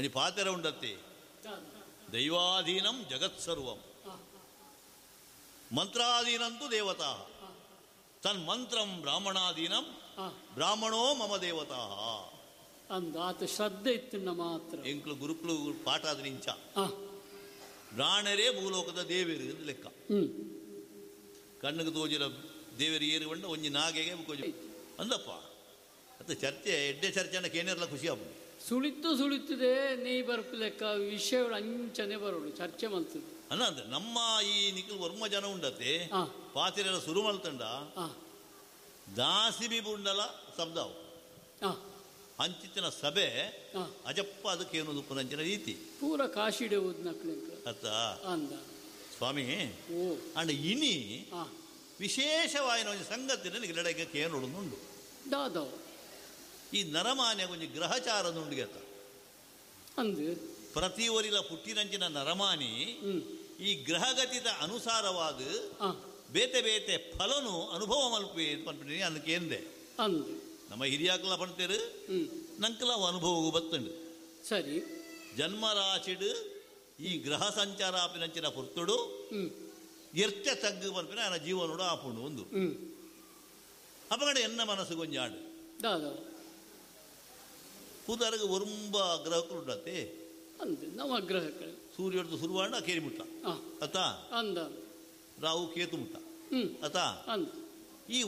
ಒಂಜಿ ಪಾತೆರ ಉಂಡತ್ತೆ. ದೈವಾಧೀನಂ ಜಗತ್ ಸರ್ವಂ ಮಂತ್ರಾಧೀನಂತು ದೇವತಾ ತನ್ಮಂತ್ರಂ ಬ್ರಾಹ್ಮಣಾಧೀನಂ ಬ್ರಾಹ್ಮಣೋ ಮಮ ದೇವತಾ. ಅಂದ ಆತ ಶ್ರದ್ಧೆ ಇತ್ತು ಮಾತ್ರ. ಎಂಕ್ಲು ಗುರುಕ್ಲು ಪಾಠ ಆದ ನಿಂಚ ಬ್ರಾಹ್ಮಣರೇ ಭೂಲೋಕದ ದೇವರು ಎಂದು ಲೆಕ್ಕ. ಕಣ್ಣಿಗೆ ತೋಜಿರ ದೇವರು ಏರು ಬಂಡ ಒಂಜಿ ನಾಗೆಗೆ ಅಂದಪ್ಪ. ಅದು ಚರ್ಚೆ ಎಡ್ಡೆ ಚರ್ಚೆ ಅನ್ನ ಕೇನಿರಲ್ಲ ಖುಷಿ ಆಪುಂಡು. ಸುಳಿತು ಸುಳಿತದೆ ನೀ ಬರ್ಪು ಲೆಕ್ಕ ವಿಷಯಗಳು ಅಂಚನೆ ಬರೋಡು ಚರ್ಚೆ ಮಲ್ತದೆ ಅಲ್ಲ. ಅಂದ್ರೆ ನಮ್ಮ ಈ ನಿಖಿಲ್ ವರ್ಮ ಜನ ಉಂಡತೆ ಪಾತಿರೆಲ್ಲ ಸುರು ಮಲ್ತಂಡ ದಾಸಿ ಬುಂಡಲ ಶಬ್ದವು ಅಂಚಿತ್ತಿನ ಸಭೆ ಅಜಪ್ಪ ಅದಕ್ಕೆ ಏನು ಪುನಂಚಿನ ರೀತಿ ಪೂರ ಕಾಶಿಡೆ ಅತ್ತ ಸ್ವಾಮಿ. ಅಂಡ್ ಇನಿ ವಿಶೇಷವಾಯಿನ ಒಂದು ಸಂಗತಿ ನನಗೆ ಲಡಕ್ಕೆ ಕೇನುಂಡು. ದಾದವ್ ಈ ನರಮಾನ್ಯ ಒಂಜಿ ಗ್ರಹಚಾರ ನುಂಡಿಗೆತ್ತ ಅಂದು ಪ್ರತಿ ಒರಿಲ ಪುಟ್ಟಿನಂಚಿನ ನರಮಾನಿ ಈ ಗ್ರಹಗತಿದ ಅನುಸಾರವಾದ ಬೇತೆ ಬೇತೆ ಫಲನು ಅನುಭವ ಮಲ್ಪೆ ಪನ್ಪಿನಿ ಅದಕ್ಕೆ ಅಂದು ನಮ್ಮ ಹಿರಿಯಾಕಲ ಪಣ್ತೇರು ನಂಕಲ ಅನುಭವಗೂ ಬತ್ತುಂಡು. ಸರಿ ಜನ್ಮರಾಶಿಡು ಈ ಗ್ರಹ ಸಂಚಾರ ಆಪಿನಂಚಿನ ಪುರ್ತುಡು ಎರ್ತೆ ತಗ್ಗು ಪನ್ಪಿನ ನನ್ನ ಜೀವನೋಡು ಆಪುಂಡು ಒಂದು ಅಪಗಡೆ ಎನ್ನ ಮನಸ್ಸು ಗೊಂಜಾಂಡು ಪೂದಾರಗ ಒರುಂಬ ಗ್ರಹಕ್ಕಳು ಅಂದು ನವಗ್ರಹಗಳು ಸೂರ್ಯಡ್ದು ಸುರುವಾಂಡ ಕೇರಿ ಮುಟ್ಟ ಅತ್ತ ಅಂದ ರಾಹು ಕೇತು ಮುಟ್ಟ ಅತ್ತ